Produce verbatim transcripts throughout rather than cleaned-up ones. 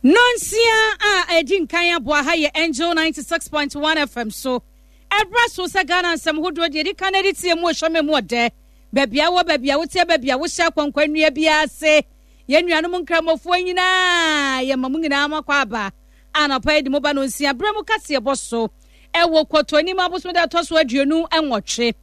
Nonsia a ɛdi nkan aboa ha yɛ Angel ninety six point one F M so. Ɛbrɛ so sɛ Ghana nsɛm hodoɔ deɛ ɛdi kan ɛde tie mu ɔhyɛmɛ mu ɔdɛ. Baabi a wɔ, baabi a woteɛ, baabi a wohyɛ akɔnkɔ nnua biara ase. Yɛn nuanom nkramofoɔ nyinaa, yɛma mo nyinaa mo akɔ aba. Anɔpa yi de mo ba no nsia berɛ mu kaseɛ bɔ so. Ɛwɔ Kɔtɔnim abosom da ɛtɔ so aduonu nwɔtwe.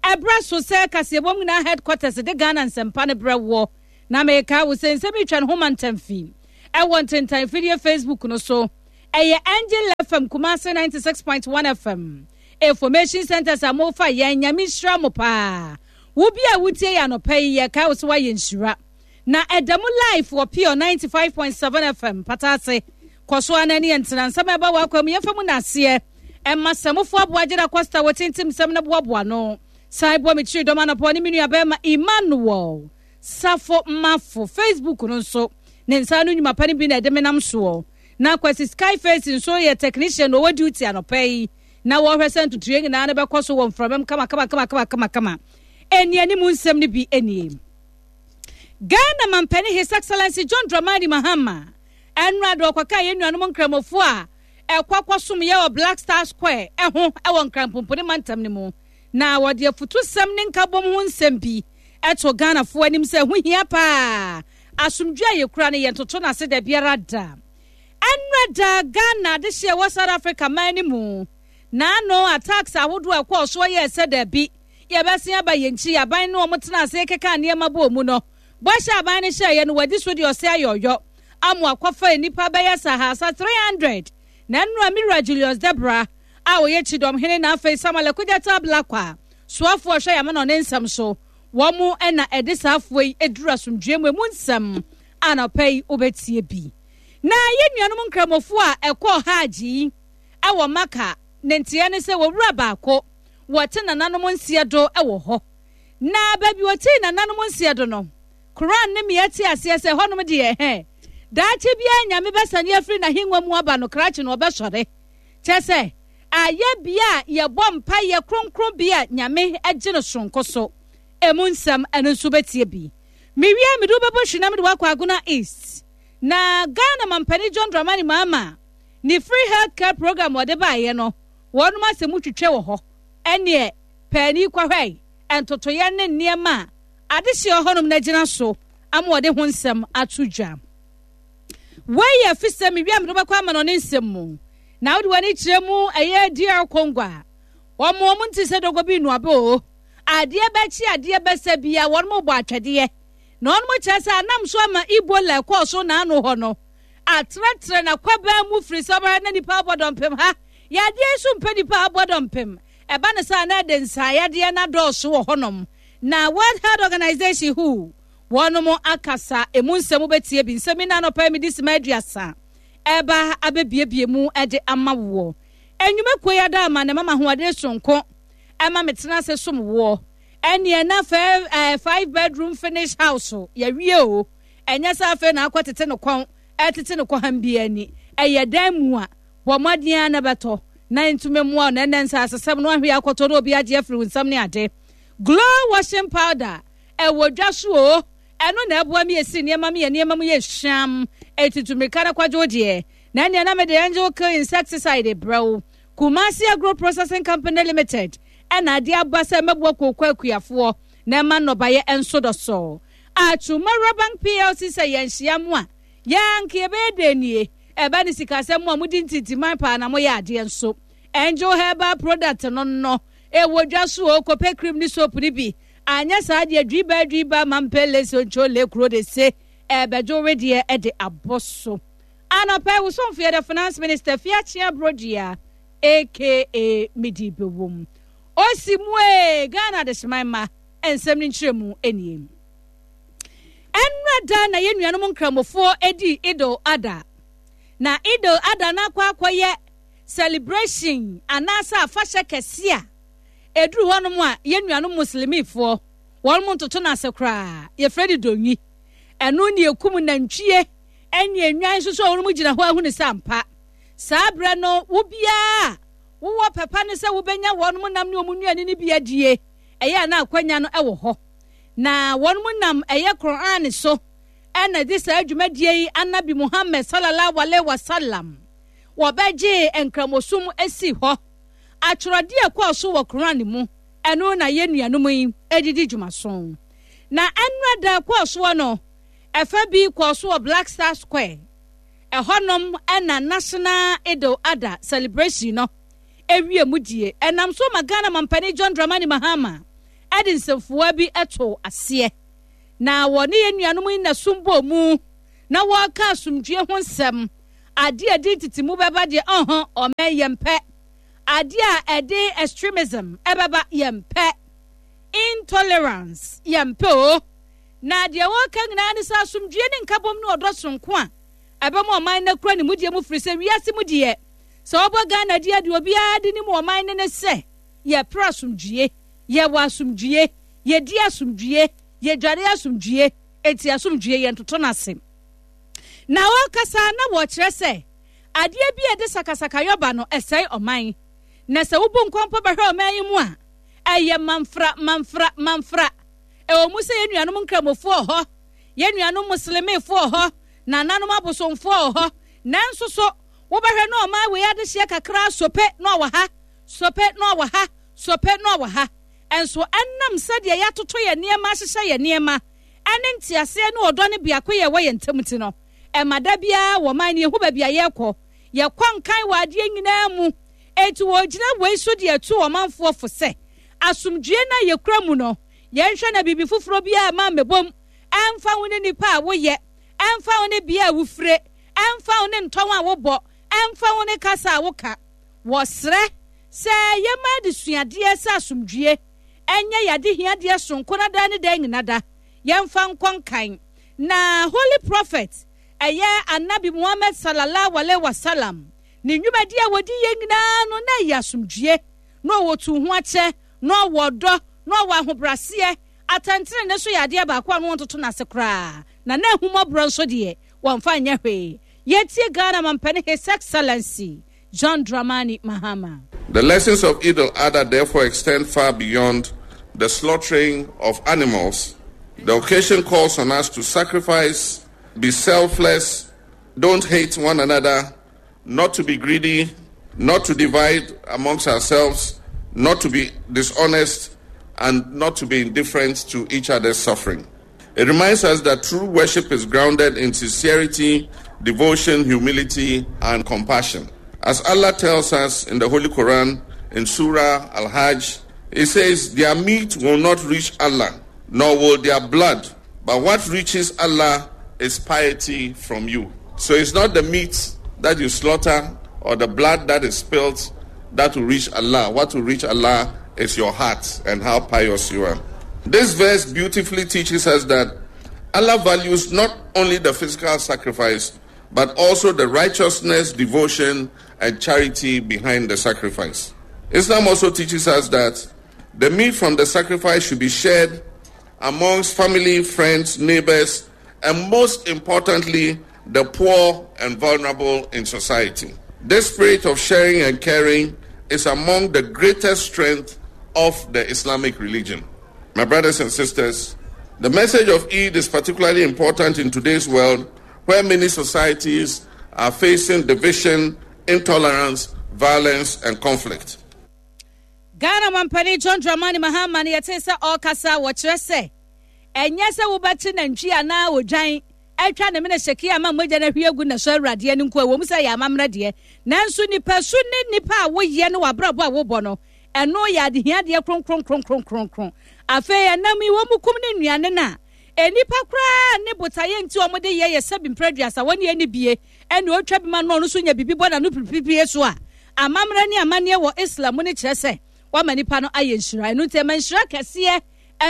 Ɛbrɛ so sɛ kaseɛbɔ mu nyinaa headquarters de Ghana nsɛmpa no brɛ wɔ. Na meka wo sɛ nsɛm yi twa ne ho ma ntamfi. Ɛwɔ ntentan fidie Facebook no so. Ɛyɛ Angel F M Kumasi ninety-six point one F M. Information centers a mofa yɛn, Nyame nhyira mo paa. Wo bi a wotie yɛ anɔpa yi, yɛka wo sɛ woayɛ nhyira. Na ɛda mu live wɔ Pure ninety-five point seven F M Patase. Kɔ so ana ne yɛntena nsɛm a ɛba wɔ akwa mu yɛmfa mu naaseɛ. Ɛma sɛmofo aboagyera Costa wɔ tintim nsɛm no boaboa no. San bɔ me kyiri dɔm anɔpɔ ne me nua bɛrima Emmanuel Safo Mafo. Facebook no nso ne nsa no nnwuma pa no bi na ɛde menam soɔ. Na Kwasi Skyface nso yɛ technician na ɔwɔ duty anɔpa yi. Na wɔhwɛ sɛ ntotoeɛ nyinaa no bɛkɔ so wɔ mframam kama kama kama kama kama kama. Ɛni anim nsɛm no bi nie. Ghana mampanin His Excellency John Dramani Mahama ɛnura de ɔkɔka yɛn nuanom nkramofoɔ a ɛkɔ akɔsom yɛ wɔ Black Star Square ɛho ɛwɔ Nkranpompone mantam no mu, na wɔde afutusɛm ne nkabom ho nsɛm bi ɛto Ghanafoɔ anim sɛ ɛho hia paa. Asomdwe a yɛkura no, yɛntoto no ase da biara da. Ɛnura da Ghana adehyeɛ wɔ South Africa man no mu n'ano attacks ahodoɔ a ɛkɔɔ soɔ yɛ sɛ daabi, yɛbɛsen aba yɛn nkyi. Aban no wɔn tena ase keka nneɛma bɔ mu no, bɔhyɛ aban no hyɛeɛ no, wɔadi so deɛ ɔsɛ ayɔyɔ amu akɔfa nnipa bɛyɛ sahasa three hundred. Na nnura Mira Julius Debra a ɔyɛ Kyidɔmhene na afei Samuel Okudzeto Ablakwa soafoɔ ɔhwɛ yamma na ɔne nsɛm so wɔn mo na ɛde saa afoɔ yi eduru asomdue mu. Emu nsɛm anɔpa yi wobɛtie bi. Na yɛn nuanom nkramofoɔ a ɛkɔɔ Hajj yi ɛwɔ Maka ne nteɛ ne sɛ wɔwura baako wɔte nananom nseɛ do ɛwɔ hɔ, na baabi wɔte nananom nseɛ do no, Koran ne mmea te aseɛ sɛ hɔnom deɛ hɛ daakye biara Nyame bɛsane afiri n'ahengua mu aba no krakye no ɔbɛsɔre kyɛ sɛ ayɛ bea a yɛbɔ mpayɛ kronkron bea Nyame agye no soronko so. Emu nsɛm ɛno nso bɛtie bi. Mewie, mede wobɛbɔ hwi na mede wakɔ Agona East. Na Ghana mampanin John Dramani Mahama ne free health care program wɔde baeɛ no, wɔnom asɛm twitwe wɔ hɔ. Ɛneɛ paani kɔhwɛ ntotoyɛ ne nneɛma a adehyeɛ hɔnom no agyina so ama wɔde ho nsɛm ato dwa. Wei yɛ fi sɛ mewie a, mede wobɛkɔ ama no ne nsɛm mu na wode w'ani kyerɛ mu. Ɛyɛ D R Congo a wɔn wɔn nti sɛ dɔgɔ bi nnuaba o, adeɛ bɛkye adeɛ bɛsɛ bia wɔn mo bɔ atwɛdeɛ na wɔn mo kyerɛ sɛ anam so ama Ebola ɛkɔɔ so n'ano hɔ no atrɛtrɛ na kwabaa mu firi sɛ ɔbɛhwɛ na nipa abɔ dɔmpem ha yadeɛ nso mpɛ nipa abɔ dɔmpem. Ɛba ne sɛ na ɛde nsaeyadeɛ na dɔɔso wɔ hɔnom na World Health Organization W H O wɔnom akasa. Emu nsɛm wobɛtie bi. Nsɛm yi na anɔpa mi de sima aduasa ɛba abɛbiebie mu ɛde ama woɔ. Enwumakuo yi ada ama ne mama ahoɔden sonko ɛma me tena ase som woɔ. Ɛneɛ na fɛ ɛɛ five bedroom finish house yɛwie o. Ɛnyɛ sɛ afei na akɔ tete no kɔn ɛtete no kɔ ham bi ani. Ɛyɛ dan mu a bɔ mmɔden a na bɛtɔ na ntumi mmoa na ɛnɛ nsa asesɛm no ahwɛ akɔtɔ na obi agye afiri wo nsam ne ade. Glow washing powder ɛwɔ dwa so o. Ɛno na ɛboa mi esi nneɛma mi yɛ nneɛma mu yɛ hwam etutu mirika na kwadwo deɛ. Na ɛnea na mede Angel Kill insecticide brɛw. Kumasi Agro Processing Company Limited ɛna ade aba sɛ mɛboa kooko akuafoɔ na ɛma nnɔbaeɛ nso dɔsɔ. Atwuma Bank P L C sɛ yɛnhyia mu a yɛanka yɛbɛyɛ dɛ nie. Ɛba ne sikasɛm mu a modi ntintiman paa na moyɛ adeɛ nso. Angel Herbal product no no ɛwɔ dwa so o. Kɔpɛ cream ne soap no bi. Anyɛ saa deɛ, dwiba dwiba mampele sonchole kuro de se ɛbɛdwo wedeɛ ɛde abɔ so. Anɔpɛ wosomfo yɛ the Finance Minister Fiakyea Brodua A K A midi bɛwom osi mu ee. Ghana adehyeman ma nsɛm no nkyerɛ mu nie. Ɛnnora da na yɛn nuanom nkramofoɔ edi Idul Adha, na Idul Adha no akɔ akɔyɛ celebration anaasɛ afahyɛ kɛse a ɛduru hɔnom a yɛn nuanom muslimifoɔ wɔn mo ntoto no ase koraa. Yɛfrɛ no donwi. Ɛno ne ekum nantwie ɛne enwan nso so a wɔn gyina hɔ ahunu sɛ ampa saa berɛ no wo biara wowɔ pɛpa ne sɛ wobɛnya wɔn mo nam ne wɔn nnuane no bi adie. Ɛyɛ a na akwanya no ɛwɔ hɔ na wɔn mo nam ɛyɛ Koran so Ɛna de saa dwumadie yi Anabi Muhammad Sallallahu Alaihi Wasallam wɔbɛgyee Nkramosom sii hɔ. Atwerɛdeɛ a ɛkɔɔ so wɔ Qur'aan mu, ɛno na yɛn nuanom yi de di dwumaso. Na ɛnnora da ɛkɔɔ soɔ no, ɛfa bi kɔɔ so wɔ Black Star Square. Ɛhɔnom na National Eid-el-Adha celebration no wie mu die. Ɛnam so ma Ghana Mampanin John Dramani Mahama de nsɛmfua bi too aseɛ. Na wɔne yɛn nuanom yi na som bɔɔ mu na wɔreka asomdwie ho nsɛm. Adeɛ a ɛde ntetemu bɛba deɛ, ɔhɔ, ɔmɛn yɛmpɛ. Adeɛ a ɛde extremism ɛbɛba yɛmpɛ. Intolerance yɛmpɛ o. Na deɛ wɔreka nyinaa ne sɛ asomdwie ne nkabom ne ɔdɔ soronko a ɛbɛma ɔman no akura ne mudie mu firi sɛ wiase mu deɛ sɛ wɔbɔ Ghana di a deɛ obiara de nim ɔman no ne sɛ yɛpere asomdwie, yɛwɔ asomdwie, yɛdi asomdwie, yɛdware asomdwie, enti asomdwie yɛntoto no ase. Na wɔrekasa na wɔrekyerɛ sɛ adeɛ bi a ɛde sakasakayɔ ba no ɛsɛe ɔman. Na sɛ wobu nkɔmpɔ bɛhwɛ ɔman yi mu a, ɛyɛ manfra, manfra, manfra. Ɛwɔ mu sɛ yɛn nuanom Nkramofoɔ wɔ hɔ, yɛn nuanom Muslimfoɔ wɔ hɔ, nananom abosomfoɔ wɔ hɔ, nanso so wobɛhwɛ na ɔman wei adehyeɛ kakra sope na ɔwɔ ha, sope na ɔwɔ ha, sope na ɔwɔ ha. Nso ɛnam sɛdeɛ yɛatoto yɛn nneɛma ahyehyɛ yɛn nneɛma ne nteaseɛ ne ɔdɔ ne biakoyɛ a ɛwɔ yɛn ntam nti no, ɛma da biara wɔ ɔman no yɛhu baabi a yɛrekɔ. Yɛkɔ nkan wɔ adeɛ nyinaa mu. Enti wɔregyina wei so de atu ɔmanfoɔ fo sɛ, asomdwoeɛ no a yɛkura mu no, yɛnhwɛ na biribi foforɔ biara mma ammɛbom, ɛmfa ho ne nipa a woyɛ, ɛmfa ho ne bea a wofire, ɛmfa ho ne ntɔn a wobɔ, ɛmfa ho ne kasa a woka. Wɔsrɛ sɛ yɛmma adesuadeɛ sɛ asomdwoeɛ nyɛ yɛn adehiadeɛ sononko na daa ne daa nyina da yɛmfa nkɔ nkan. Na Holy Prophet, ɛyɛ Annabi Muhammad Sallallahu Alaihi Wasallam, ne nnwumadie a wɔdi yɛ nyinaa no na ɛyɛ asomdwoeɛ, na ɔwɔ tuuhoakyɛ, na ɔwɔ ɔdɔ, na ɔwɔ ahobraseɛ. Atɛntenenee nso yɛ adeɛ baako a na wɔntoto no ase koraa, na na ahummɔborɔ nso deɛ wɔmfa nyɛ hwee. Yɛtie Ghana Mampanin His Excellency John Dramani Mahama. The lessons of Eid al-Adha therefore extend far beyond the slaughtering of animals. The occasion calls on us to sacrifice, be selfless, don't hate one another, not to be greedy, not to divide amongst ourselves, not to be dishonest, and not to be indifferent to each other's suffering. It reminds us that true worship is grounded in sincerity, devotion, humility, and compassion. As Allah tells us in the Holy Quran, in Surah Al Hajj, He says, Their meat will not reach Allah, nor will their blood, but what reaches Allah is piety from you. So it's not the meat that you slaughter or the blood that is spilled that will reach Allah. What will reach Allah is your heart and how pious you are. This verse beautifully teaches us that Allah values not only the physical sacrifice, but also the righteousness, devotion, and charity behind the sacrifice. Islam also teaches us that the meat from the sacrifice should be shared amongst family, friends, neighbors, and most importantly, the poor and vulnerable in society. This spirit of sharing and caring is among the greatest strength of the Islamic religion. My brothers and sisters, the message of Eid is particularly important in today's world where many societies are facing division, intolerance, violence, and conflict. Ghana mampanin John Dramani Mahama no yɛtee sɛ ɔrekasa wɔkyerɛ sɛ ɛnyɛ sɛ wobɛkye nantwi anaa odwan atwa ne mene hyɛkee ama mogya no ahwie agu na so awuradeɛ no nko ɛwɔ mu sɛ ɛyɛ amammerɛ deɛ nanso nipasu ne nipa a woyɛ ne w'abrabɔ a wobɔ no ɛno yɛ adehiadeɛ kronkronkronkronkron afei ɛnam yi wɔn mu kum ne nnuane no a nnipa koraa ne botaeɛ nti wɔn de yɛ yɛ sɛbi mprɛ aduasa wɔn yɛ ne bie ɛne otwa bi ma no ɔno nso nya biribi bɔ n'ano piripiripie so a amammerɛ ne amanneɛ wɔ Islam mu no kyerɛ sɛ wama nipa no ayɛ nhyira ɛno nti ɛma nhyira kɛseɛ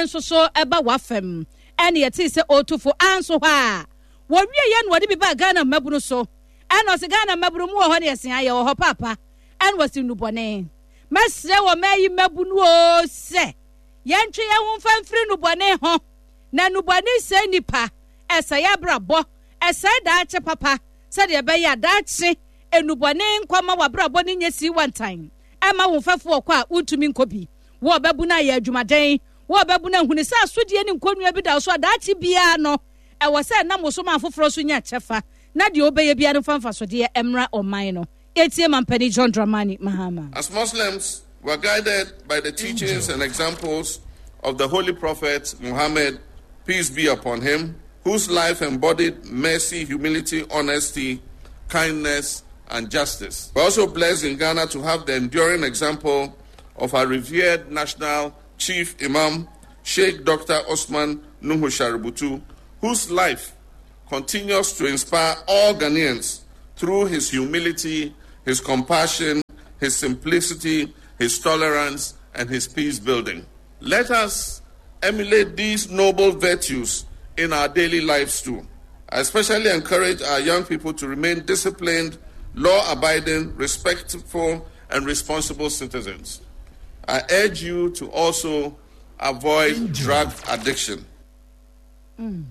nso so ɛba w'afam ɛne yɛtee sɛ ɔtufo anso hɔ a wɔwie yɛ na wɔde bi baa Ghana mmabunu so ɛna ɔse Ghana mmabunu mu wɔ hɔ ne yɛse ayɛ wɔ hɔ paapa ɛna wɔse nnubɔne mɛsrɛ wɔ mɛyi mmabunu o sɛ yɛntwe yɛn ho mfa mfiri nnubɔne ho na nnubɔne sɛe nipa ɛsɛe abrabɔ ɛsɛe daakye papa sɛdeɛ ɛbɛyɛ a daakye nnubɔne nkɔma w'abrabɔ no nyɛ sii wantan ɛma wo mfɛfo ɔkɔ a wontumi nkɔ bi wo ɔbɛbu no ayɛ adwumaden wo ɔbɛbu no ahuni sɛ asodie ne nkonnua bi da wo so a daakye biara no Ɛwɔ sɛ ɛnam wo so ma afoforɔ nso nya kyɛfa, na deɛ wobɛyɛ biara no mfa mfasodeɛ mmra ɔman no. Yɛtie Mampanin John Dramani Mahama. As Muslims, we are guided by the teachings and examples of the Holy Prophet Muhammad, peace be upon him, whose life embodied mercy, humility, honesty, kindness, and justice. We're also blessed in Ghana to have the enduring example of our revered national chief imam, Sheikh Doctor Osman Nuhu Sharubutu, whose life continues to inspire all Ghanaians through his humility, his compassion, his simplicity, his tolerance, and his peace building. Let us emulate these noble virtues in our daily lives too. I especially encourage our young people to remain disciplined, law-abiding, respectful, and responsible citizens. I urge you to also avoid drug addiction. Mm.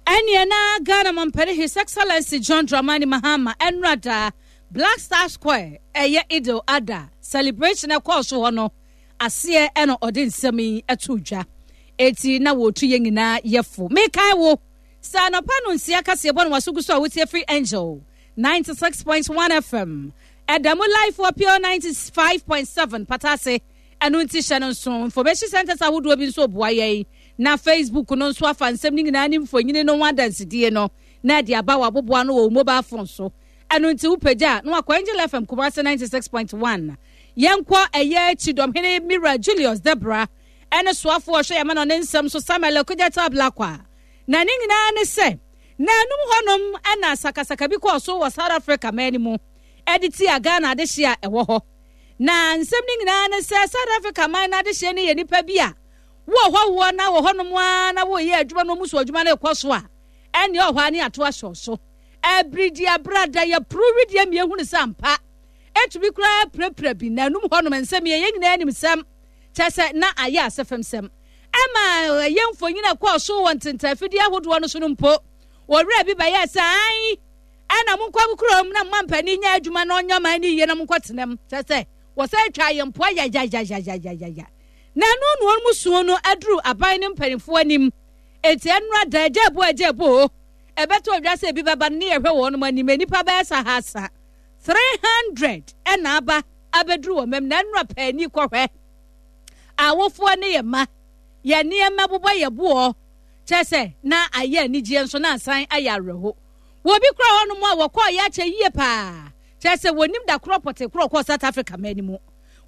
Ɛneɛ na Ghana mampanin His Excellency John Dramani Mahama ɛnora da Black Star Square ɛyɛ Idil Adha celebration ɛkɔɔ so hɔ no aseɛ ɛna ɔde nsɛm yi ɛto dwa. Eti na wɔtu yɛn nyinaa yɛfo. Mekae wo sɛ anɔpa no nsia kaseɛ bɔ no waso gu so a wotie firi Angel ninety-six point one F M ɛda mu live wɔ Pure ninety-five point seven Patase. Ɛno nti hyɛ no nso information centers ahodoɔ bi nso boa yɛn na Facebook no nso afa nsɛm no nyinaa ne mfonini no ho adansedie no na ɛde aba wɔ aboboa no wɔ wo mobile phone so. Ɛno nti wopagya na wakɔ Angel F M Kumasi ninety-six point one. Yɛnkɔ ɛyɛ Kyidɔmhene Mira Julius Debrah ɛne soafoɔ ɔhwɛ yɛma no ne nsɛm so Samuel Okudzeto Ablakwa. Na ne nyinaa ne sɛ na anum hɔnom ɛna sakasaka bi kɔɔ so wɔ South Africa man no mu ɛde tia Ghana adehye a ɛwɔ hɔ. Na nsɛm no nyinaa ne sɛ South Africa man no adehye no yɛ nipa bi a wɔ hɔ wɔ na wɔ hɔnom a na wɔyɛ adwuma no mu so adwuma no kɔ so a ɛne ɔhɔ ani ato ahyɛ so. Ɛbiridi abrada yɛ puru widie mmienu ne sɛ ampa etumi koraa pirapira bi na anum hɔnom nsɛm yɛ yɛn nyinaa nim sɛm kyɛ sɛ na ayɛ asɛfɛm sɛm ɛma ɛyɛ mfonyin ɛkɔɔ so wɔ ntentafidie ahodoɔ no so no mpo wɔwerɛ bi bɛyɛ sɛ ae ɛna monkɔ kurom na mma mpanin nyɛ adwuma na ɔnyɛ ɔman no yie na monkɔ tenam kyɛ sɛ wɔsɛ twa yɛn mpoa yayayayayaya na ɛno na wɔn mu suo no aduru aban ne mpanimfoɔ anim eti ɛnora da agya ebo agya ebo ɛbɛtɔ odwa sɛ ebi bɛba ne yɛhwɛ wɔn anim nipa bɛyɛ sahasa three hundred ɛna aba abɛduru wɔn mɛm na ɛnora paani kɔhwɛ awofoɔ ne yɛ ma yɛ nneɛma bobɔ yɛ boɔ kyɛ sɛ na ayɛ anigyeɛ nso na asan ayɛ awerɛho wɔbi kura hɔnom a wɔkɔɔ yɛ akyɛ yie paa kyɛ sɛ wɔnim da korɔ pɔte korɔ kɔɔ South Africa man mu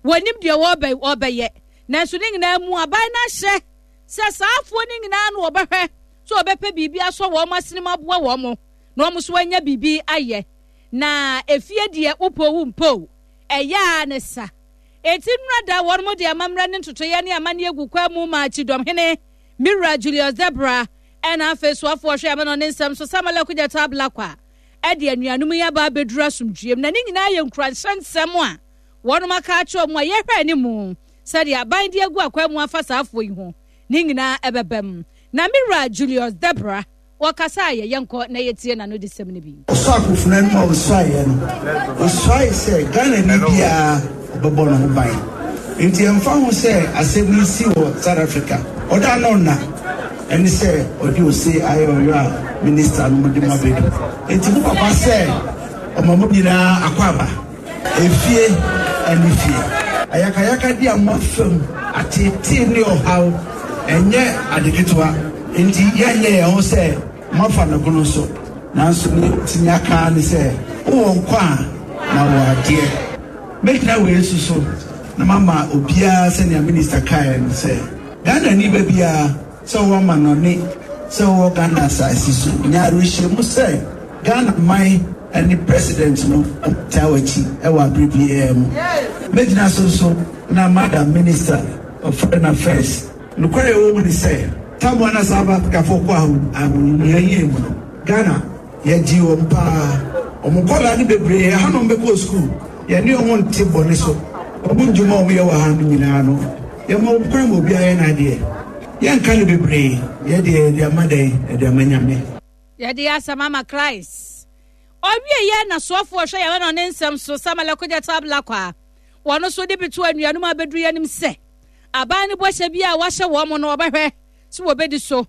wɔnim deɛ wɔbɛ wɔbɛyɛ nanso ne nyinaa mu aban no ahyɛ sɛ saafoɔ ne nyinaa no wɔbɛhwɛ so wɔbɛpɛ biribi asɔ wɔn asene mu aboa wɔn mo na wɔn nso anya biribi ayɛ na efie deɛ wopɔ wo mpo ɛyɛ a ne sa eti nnura da wɔn mo de amammerɛ ne ntotoeɛ ne amanneɛ gu kwa mu ma Kyidɔmhene Mira Julius Debrah ɛna afei soafoɔ hwɛ ama no ne nsɛm so Samuel Okudzeto Ablakwa ɛde anuanom yi aba abɛduru asomdwoeɛ mu na ne nyinaa yɛ nkuranhyɛ nsɛm a wɔnom aka akyerɛ mu a yɛhwɛ anim sɛdeɛ aban de agu akwan mu afa saafoɔ yi ho ne nyinaa ɛbɛbɛm na Mira Julius Debrah wɔkasa a yɛyɛ nkɔ na yɛtie n'ano de sɛm no bi. Ɔsɔ akofena no mu a ɔsuaeɛ no, ɔsuae sɛ Ghana ni biara ɔbɛbɔ ne ho ban. Nti ɛmfa ho sɛ asɛm yi si wɔ South Africa, ɔda no nna ɛne sɛ ɔde ose ayɛ ɔyɔ a minista no de mo abɛdu. Nti mo papa sɛ ɔma mo nyinaa akɔ aba efie ɛne fie. Ayakayaka di a mo afam atetee ne ɔhaw ɛnyɛ ade ketewa. Nti yɛnyɛ yɛn ho sɛ moafa no kono so nanso ne tumi aka ne sɛ wowɔ nkwa a na wɔ adeɛ. Mɛgyina wei nso so na mama obiara sɛnea minista kaeɛ no sɛ Ghana ni ba biara sɛ wɔwɔ amanɔne sɛ wɔwɔ Ghana asase so nya awerɛhyɛmu sɛ Ghana man ne president no taa w'akyi ɛwɔ abere biara mu. Mɛgyina so nso na madam minister of foreign affairs nokware ɛwɔ mu ne sɛ tamu na South Africa fo kɔ ahohiahia mu no Ghana yɛgye wɔn paa wɔn nkɔlaa no bebree hanom bɛkɔ sukuu yɛne wɔn nte bɔne so wɔn ndwuma a wɔyɛ wɔ ha no nyinaa no yɛma wɔn kwan ma obiara yɛ n'adeɛ yɛnka no bebree yɛde yɛde ama dɛn yɛde ama Nyame. Yɛde asɛm ama Christ ɔwie yɛ na soafoɔ hwɛ yɛn na ne nsɛm so Samuel Okudzeto Ablakwa wɔn nso de bito anuanom abɛduru yɛn anim sɛ aban no bɔhyɛ bi a wahyɛ wɔn no wɔbɛhwɛ sɛ wɔbɛdi so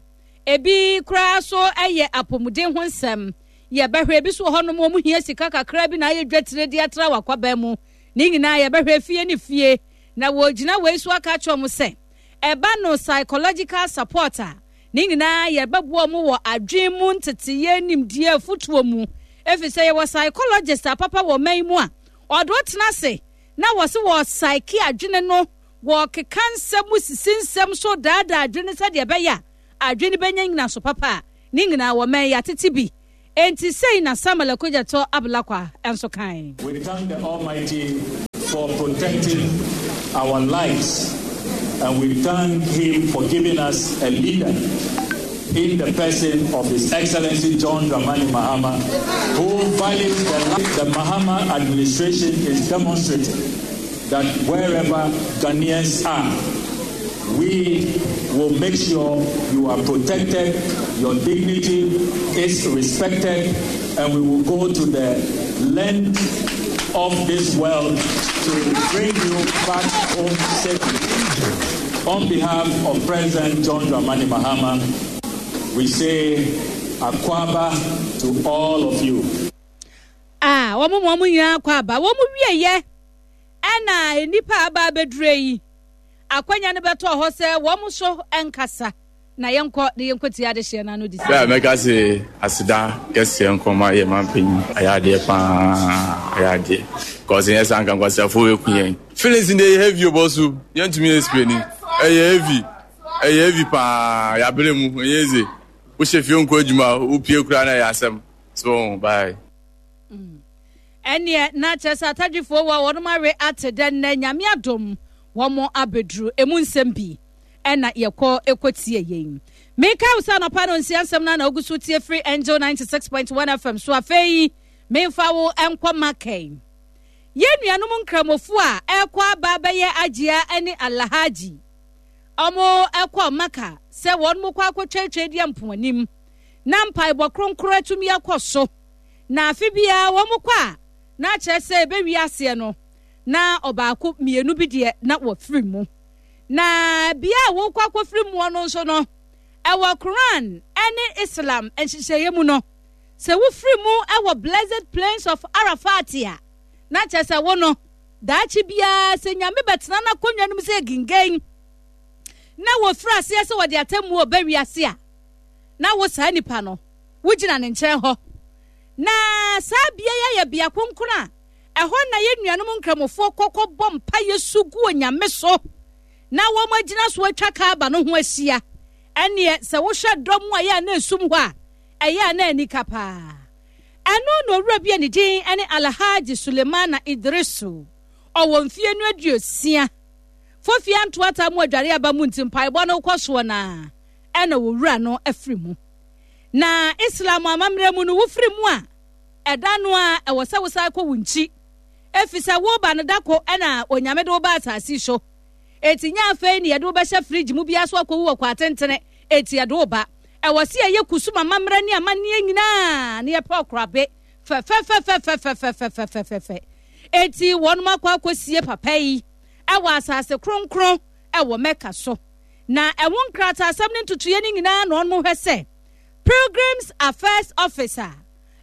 Ebi koraa so yɛ apɔmuden ho nsɛm. Yɛbɛhwɛ ebi so wɔ hɔnom wɔn hia sika kakra bi na ayɛ dwatire de atra wɔ akwaban mu. Ne nyinaa yɛbɛhwɛ fie ne fie. Na wɔgyina wei so aka akyerɛ wɔn sɛ ɛba no psychological support a, ne nyinaa yɛbɛboa wɔn wɔ adwene mu nteteyɛ nimdeɛ afutuo mu. Ɛfiri sɛ yɛwɔ psychologist apapa wɔ ɔman yi mu a ɔde wo tena ase na wɔse wɔ psyche adwene no, wɔkeka nsɛm mu sisi nsɛm so daadaa adwene sɛdeɛ ɛbɛyɛ a adwene bɛnya nyinaso papa a, ne nyinaa wɔ man yi atete bi. Enti sei na Samuel Okudzeto Ablakwa nso kae. We thank the Almighty for protecting our lives and we thank him for giving us a leader in the person of His Excellency John Dramani Mahama, who values the, the Mahama administration is demonstrating that wherever Ghanaians are, we will make sure you are protected, your dignity is respected, and we will go to the length of this world to bring you back home safely. On behalf of President John Dramani Mahama, we say Akwaaba to all of you. Ah, wɔn mu wɔn nyinaa akɔ aba. Wɔn wieɛ ɛna nnipa aba abɛdure yi. Akwanya no bɛtɔɔ hɔ sɛ wɔn nso nkasa na yɛnkɔ na yɛnkɔtie adehyeɛ no ano de si. Bɛ a mɛka se aseda kɛseɛ nkɔma yɛ manpanyin, ayɛ adeɛ paa, ayɛ adeɛ. Cause nyɛ saa nka nkwasiafoɔ bɛku yɛn. Feelings no deɛ ɛyɛ heavy o bɔso, yɛntumi explain. Ɛyɛ heavy, ɛyɛ heavy paa, yɛabrɛ mu, ɛnyɛ easy. Wohyɛ fie nkɔ adwuma, wopie koraa na ɛyɛ asɛm. So, bye. Mm. Ɛneɛ na kyerɛ sɛ atadwifoɔ wɔ wɔnom awe ate dɛ nnɛ Nyame adom wɔn abɛduru emu nsɛm bi ɛna yɛkɔ ɛkɔtie yɛn. Meka wo sɛ anɔpa no nsia nsɛm no na wogu so tie firi Angel ninety-six point one F M so. Afei memfa wo nkɔ Makɛn, yɛn nuanom Nkramofo a ɛkɔ aba bɛyɛ Agyia ne Alhaji, ɔmo ɛkɔ Maka sɛ wɔn mo kɔ akɔtwatwa di mpoanim na mpaebɔ kronkron atumi akɔ so. Na afe biara wɔn kɔ a, na akyerɛ sɛ ɛbɛwie aseɛ no na ɔbaako mmienu bi deɛ na wɔfiri mu. Na bea a wɔkɔ akɔfiri mu no nso no, ɛwɔ Quran ne Islam nhyehyɛeɛ mu no, sɛ wofiri mu ɛwɔ Blessed Plains of Arafat a, na kyerɛ sɛ wo no daakye biara sɛ Nyame bɛtena n'akonnwa no mu sɛ gingen na wɔfiri aseɛ sɛ wɔde atemmuo ɔba wiase a, na wo saa nipa no wogyina ne nkyɛn hɔ. Na saa bea yi ayɛ bea kronkron a ɛhɔ na yɛn nuanom Nkramofoɔ kɔkɔ bɔ mpaeɛ su gu Onyame so na wɔn agyina so atwa Kaaba no ho ahyia. Ɛneɛ sɛ wohwɛ dɔm a ɛyɛ a na esum hɔ a, ɛyɛ a na anika paa. Ɛno na owura bi a ne din ne Alhaji Sulemana Idrisu, ɔwɔ mfie no aduosia fofia ntoata mu adware aba mu nti mpaebɔ no kɔ soɔ na ɛna owura no afiri mu. Na Islam amammerɛ mu no, wofiri mu a, ɛda no a ɛwɔ sɛ wosan kɔ wo nkyi, ɛfiri sɛ woba no da ko ɛna Onyame de wo ba asase so. Eti nyɛ afei ne yɛde wo bɛhyɛ fridge mu biara so akɔwu wɔ kɔ atentene. Eti yɛde wo ba, ɛwɔ sɛ yɛyɛ kusum amammerɛ ne amanneɛ nyinaa na yɛpɛ ɔkorabe fɛfɛfɛfɛfɛfɛfɛfɛfɛfɛ. Eti wɔnom akɔ akɔsie papa yi ɛwɔ asase kronkron ɛwɔ Mecca so. Na ɛho nkrataasɛm ne ntotoeɛ no nyinaa na wɔnom hwɛ sɛ Pilgrims Affairs Office a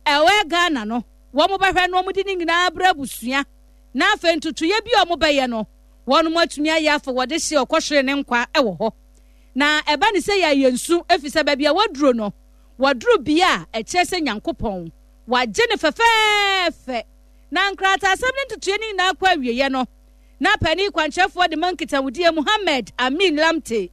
ɛwɔ Ghana no wɔn bɛhwɛ na wɔn de ne nyinaa brɛ abusua, na afei ntotoeɛ bi a wɔn bɛyɛ no wɔn atumi ayɛ afɔ wɔde hyɛ ɔkɔhwere ne nkwa ɛwɔ hɔ. Na ɛba ne sɛ yɛayɛ nsu, ɛfiri sɛ baabi a wɔduro no wɔduro bea a ɛkyerɛ sɛ Nyankopɔn wagye ne fɛfɛɛfɛ. Na nkrataasɛm ne ntotoeɛ no nyinaa kɔ awieeɛ no, na panin kwankyerɛfoɔ de ma nkitahodie Muhammad Amin Lamte,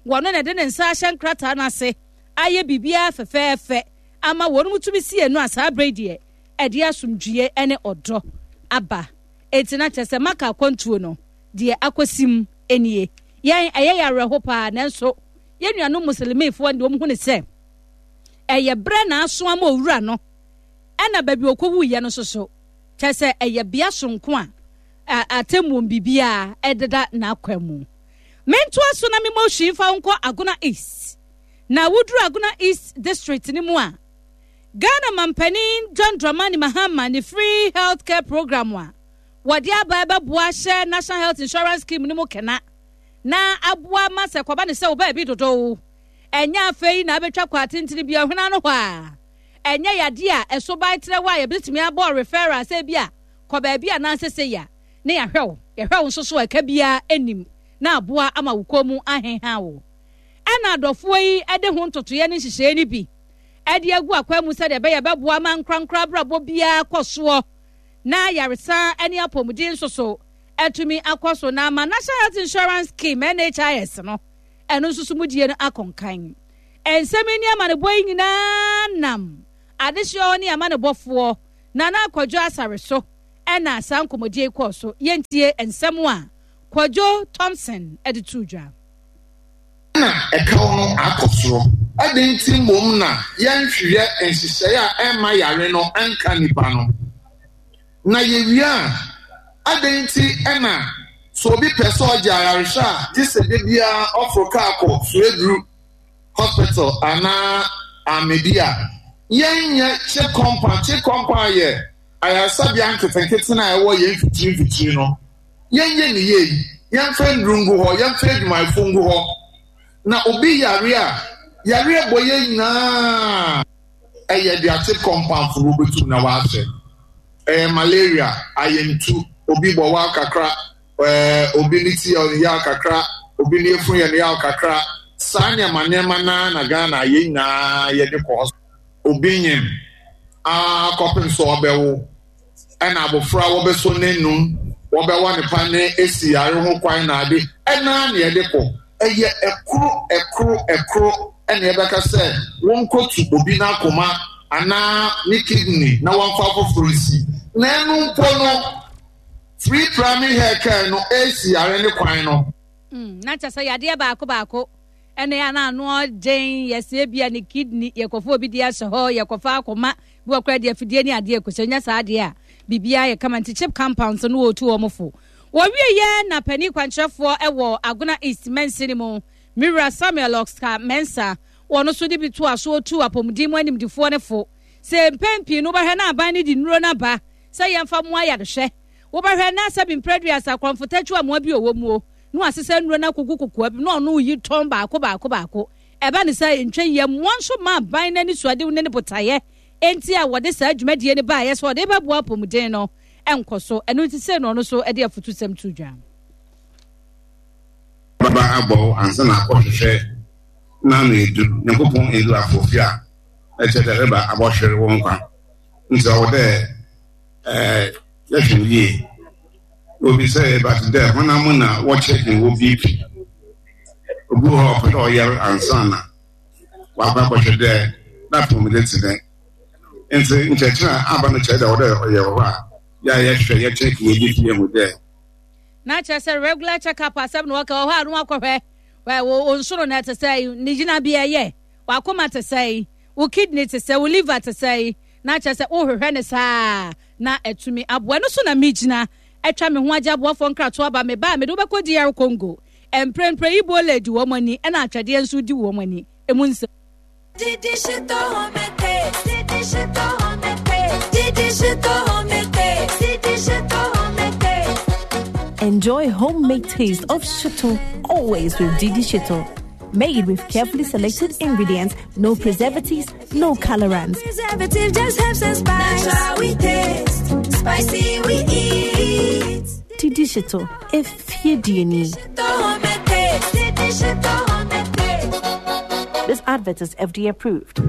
wɔno na ɛde ne nsa ahyɛ nkrataa no ase ayɛ biribiara fɛfɛɛfɛ ama wɔn mu tumi sie no a, saa berɛ deɛ ɛde asomdwie ne ɔdɔ aba. Enti na kyerɛ sɛ Maka akwantuo no deɛ akɔsim nie. Yɛn ɛyɛ yɛ awerɛho paa, nanso yɛn nuanom Muslimifoɔ deɛ wɔn hu ne sɛ ɛyɛ berɛ na aso ama owura no, ɛna baabi ɔkɔwuiɛ no nso so kyerɛ sɛ ɛyɛ bea sonko a atemmuo biribiara ɛdeda n'akwan mu. Mentoa so na memmɔ hwii mfa wo nkɔ Agona East. Na woduru Agona East District no mu a, Ghana mampanin John Dramani Mahama ne free health care program a wɔde aba ɛbɛboa ahyɛ National Health Insurance Scheme no mu kena na aboa ma sɛ kɔba ne sɛ wo baabi dodow Ɛnyɛ afei na abɛtwa kɔ atentene bi ɔhwena no hɔ a ɛnyɛ yadeɛ a ɛso ban trɛ hɔ a yɛbɛtumi abɔ referral sɛ bi a kɔ baabi a nansɛ sɛ ya ne yɛahwɛ wo yɛhwɛ wo nso so a ɛka biara anim na aboa ama wo kɔn mu aheha wo. Ɛna adɔfoɔ yi de ho ntotoeɛ ne nhyehyɛeɛ no bi ɛde agu akwan mu sɛdeɛ ɛbɛyɛ bɛboa ma nkorankora abrabɔ biara kɔ soɔ na yaresa ne apɔmuden nso so atumi akɔ so na ama National Health Insurance Scheme N H I S no ɛno nso so mudie no akɔnkan. Nsɛm yi ne amanebɔ yi nyinaa nam adehyeɛ ne amanebɔfoɔ Nana Akwadwo Asare so ɛna saa nkɔmmɔdie yi kɔɔ so. Yɛntie nsɛm a Kwadwo Thompson ɛde to dwa. Na ɛkaw no akɔ soro ɛde nti mmom na yɛnhwehwɛ nhyehyɛeɛ a ɛmma yare no ɛnka nipa no na yɛwie a adɛn nti ɛna sɛ obi pɛ sɛ ɔgye ayarehwɛ a gye sɛ de biara ɔforo kaa kɔ Sueduru Hospital anaa Amedi a yɛnyɛ CHPS compound. CHPS compound yɛ ayaresabea nketenkete no a ɛwɔ yɛn mfikyiri mfikyiri no. Yɛnyɛ ne yie, yɛmfa nnuru ngu hɔ, yɛmfa adwumayɛfo ngu hɔ na obi yare a yare bɔ yɛn nyinaa ɛyɛ de a CHPS compound fo wɔbɛtum na wɔahwɛ. Ɛyɛ malaria ayɛntu, obi bɔ wa kakra, ɛɛ obi ne ti yɛ ne yaw kakra, obi ne efun yɛ ne yaw kakra, saa nneɛma nneɛma naa na Ghana yɛn nyinaa yɛde kɔ hɔ. Obi nyim akɔpem so ɔbɛwo ɛna abɔfra wɔbɛso n'enum wɔbɛwɔ ne pa ne esi yare ho kwan na ade ɛna na yɛde kɔ. Ɛyɛ ɛkoro ɛkoro ɛkoro ɛna yɛbɛka sɛ wɔnkɔtu obi n'akoma anaa ne kidney na wɔmfa foforɔ nsi na ɛno mpo no free primary health care no esi yare ne kwan no. Mm, na kyɛ sɛ yadeɛ baako baako ɛna yɛ ana ano ɔden yɛsɛ bia ne kidney yɛkɔfa obi de ahyɛ hɔ, yɛkɔfa akoma bi wɔkora deɛ afidie ne adeɛ kɔhyɛ nya saa adeɛ a biribiara yɛ kama. Nti CHPS compounds no wɔtu wɔn fo. Wɔwie yɛ na panin kwankyerɛfoɔ ɛwɔ Agona East mansini mu, Mira Samuel Oscar Mensa, wɔn nso de bi to aso otu apɔmuden mu animdifoɔ ne fo sɛ mpɛn pii no wobɛhwɛ na aban no de nnuro no aba sɛ yɛmfa mmoa ayarehwɛ. Wobɛhwɛ na sɛ bi mprɛduasa korɔmfotakyi amoa bi ɔwɔ mu o na wasesa nnuro no akɔgu kokoa bi na ɔno yi tɔn baako baako baako. Ɛba ne sɛ ntwa yie mmoa nso ma aban no ani suadew ne ne botaeɛ enti a wɔde saa dwumadie no baeɛ sɛ ɔde bɛboa apɔmuden no ɛnkɔ so. Ɛno nti sɛ no ɔno nso de afotusɛm to dwa. Baba abɔ wo ansa na akɔhwehwɛ n'ano edu Nyankopɔn edu afɔfi a ɛkyɛ dɛ reba abɔhwere wo nkwa nti ɔwɔ dɛ ɛɛ yɛhwɛ no yie. Obi sɛ ɛba te dɛ honam na wɔkyɛ wɔ B P, obi wɔ hɔ a ɔpɛ dɛ ɔyare ansa na wakɔ akɔhwɛ dɛ n'apɔmuden te dɛn. Nti nkyerɛkyerɛ a aba no kyerɛ dɛ ɔwɔ dɛ ɔyɛ wɔ hɔ a yɛ a yɛhwɛ yɛkyɛ yɛ B P yɛhu dɛ Na kyerɛ sɛ regular check up asɛm na wɔka wɔ hɔ a no wakɔhwɛ wo nsono no ɛte sɛ ne gyinabea yɛ, wakoma te sɛ, wo kidney te sɛ, wo liver te sɛ, na kyerɛ sɛ wohwehwɛ ne saa na atumi aboa no so. Na megyina atwa me ho agye aboafoɔ nkratoɔ aba. Me ba a mede wobɛkɔ D R Congo mprempren Ebola di wɔn ani ɛna atwɛdeɛ nso di wɔn ani emu nsɛm. Didi Shito Homete, Didi Shito Homete, Didi Shito Homete, Didi Shito Homete. Enjoy homemade taste of shito always with Didi Shito. Made with carefully selected ingredients, no preservatives, no colorants. Preservative just helps and spice. Natural we taste, spicy we eat. Didi Shito, if you do need. Shito Homete, Didi Shito Homete. This advert is F D A approved.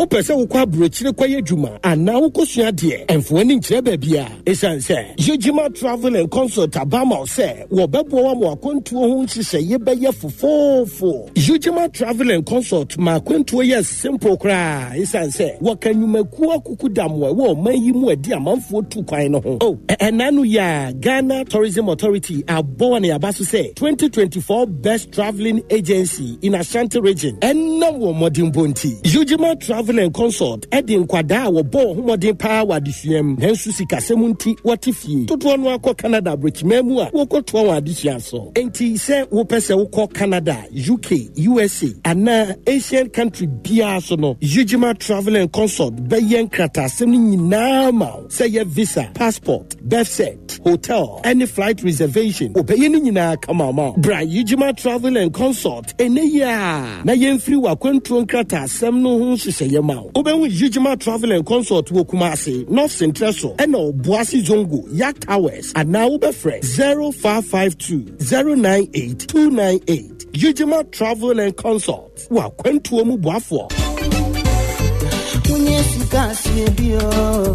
Wopɛ sɛ wokɔ aburokyire kɔyɛ adwuma anaa wokɔsua adeɛ ɛmfo ani nkyerɛ baabi a ɛsiane sɛ Yɛgyima Travel and Consult aba ma wo sɛ wɔbɛboa wo ama akwantuo ho nhyehyɛeɛ bɛyɛ fofoofo. Yɛgyima Travel and Consult ma akwantuo yɛ simple koraa ɛsiane sɛ wɔka nnwumakuo akuku damoa ɛwɔ ɔman yi mu adi amanfoɔ tu kwan no ho. Oh, ɛna no yɛ a Ghana Tourism Authority abɔ wɔ ne aba so sɛ twenty twenty-four Best Traveling Agency in Ashanti Region ɛnam wɔ mmɔdenbɔ nti Yɛgyima Travel Travel and Consult ɛde nkwadaa a wɔbɔ wɔn ho mmɔden paa wɔ adesua mu, nanso sikasɛm nti wɔte fie dodoɔ no akɔ Canada aburokyiman mu a wɔkɔtoa wɔn adesua so. Enti sɛ wopɛ sɛ wokɔ Canada, U K, U S A anaa Asian country biara so no, Ujima Travel and Consult bɛyɛ nkrataasɛm no nyinaa ma wo, sɛ yɛ visa, passport, birth cert, hotel ɛne flight reservation. Wɔbɛyɛ no nyinaa kama ma wo. Bra Ujima Travel and Consult ɛnɛ yi a na yɛmfiri w'akwantuo nkrataasɛm no ho nhyehyɛeɛ ma wo. Wobɛhu Ujima Travel and Consult wɔ Kumase, North Central so, ɛna Ɔboase Zongo Yak Towers, anaa wobɛfrɛ zero five five two zero nine eight two nine eight. Ujima Travel and Consult, w'akwantuo mu boafoɔ.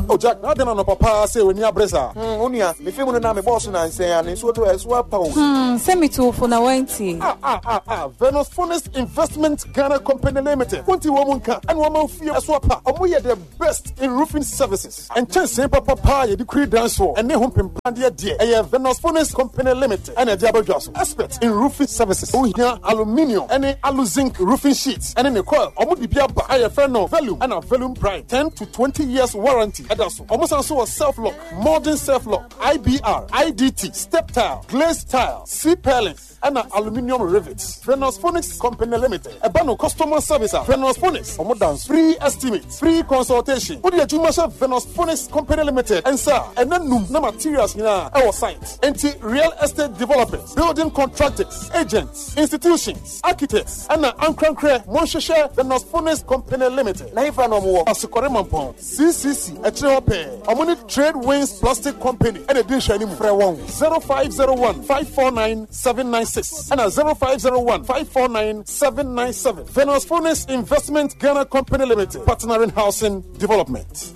Oh Jack, na adɛn na papa sɛ w'ani abere saa? Hmm, wo nua, mefe mu no na mebɔɔ so nansɛn a ne nsuo tɔ ɛso apa o. Hmm, sɛ metowfo na wantie. Ah, ah, ah, ah, Venus Phonics Investment Ghana Company Limited. Wonti wɔ mu nka, ɛna wɔma fie ɛso apa. Ɔmo yɛ the best in roofing services. Nkyɛnsee papapa a yɛde kuri dan soɔ ɛne ho mpempandeɛ deɛ, ɛyɛ Venus Phonics Company Limited ɛna ɛde abɛdwa so. Expert in roofing services. Wohia aluminium ɛne aluzinc roofing sheets ɛne ne coil. Ɔmo de bi aba a yɛfrɛ no Volume ɛna Volume Prime. ten to twenty years warranty ɛda so. Ɔmo san so wɔ self lock, modern self lock, I B R, I D T, step tile, glazed tile, C purlins, ɛna aluminium rivets. Venus Phonics Company Limited. Ɛba no customer service a, Venus Phonics ɔmo dan free estimate, free consultation. Wode adwuma hyɛ Venus Phonics Company Limited nsa a, ɛna num na materials nyinaa ɛwɔ site. Enti real estate developers, building contractors, agents, institutions, architects, ɛna ankorankorɛ, monhwehwɛ Venus Phonics Company Limited. Na hefa na ɔmo wɔ? Asokɔre Mampɔn C C C ɛkyerɛ hɔ pɛɛ. Ɔmo ne Trade Winds Plastic Company ɛna di nhwɛ anim. Frɛ wɔn zero five zero one five four nine seven nine six ɛna zero five zero one five four nine seven nine seven. Venus Phonics Investment Ghana Company Limited, partnering housing development.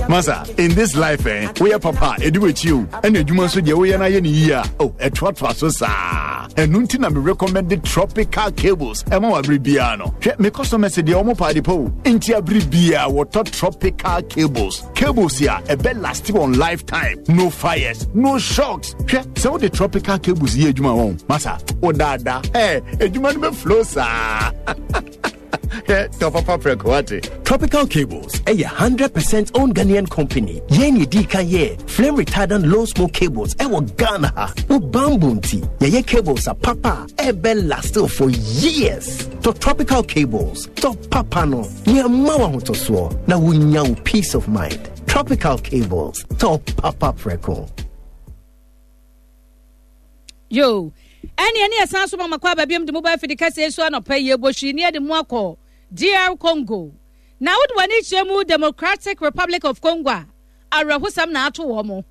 Masa, in this life, eh, woyɛ papa ɛdi w'akyi o, ɛna adwuma nso deɛ woyɛ no ayɛ ne yie a, oh, ɛtoatoa so saa. Ɛno nti na me recommend Tropical Cables ɛma wɔ abere biara no. Hwɛ, me customers deɛ, ɔmo paade pa o, nti abere biara wɔtɔ Tropical Cables. Cables a ɛbɛ last on lifetime, no fires, no shocks. Hwɛ, sɛ wode Tropical Cables yɛ adwuma wɔn, masa, wodaadaa ɛ adwuma no bɛ flow saa. Hwɛ, papa prɛko wate. Tropical Cables ɛyɛ one hundred percent owned Ghanaian company. Yɛn yɛ di kan yɛ flame retardant low smoke cables ɛwɔ Ghana ha. Wo bamboo nti, yɛyɛ cables a papa ɛbɛ last for years. Tɔ Tropical Cables, tɔ papa no, nea ma w'ahotɔsoɔ na wonya wo peace of mind. Tropical Cables, tɔ papa prɛko. Yo, ɛne ɛne ɛsan so mama kɔ aba biom de mobile fidi kɛseɛ so anɔpa yi ɛbɔhwi ne yɛde mu akɔ D R Congo. Na wode w'ani kyerɛ mu Democratic Republic of Congo a, awerɛhosɛm na ato wɔ mo.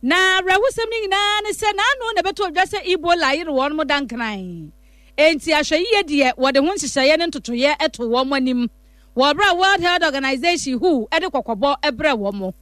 Na awerɛhosɛm no nyinaa ne sɛ n'ano na ɛbɛtɔ odwa sɛ Ebola yere wɔn mo dankran, enti ahwɛyie deɛ, wɔde ho nhyehyɛeɛ ne ntotoeɛ to wɔn anim wɔ berɛ a World Health Organization, W H O, de kɔkɔbɔ brɛ wɔn mo.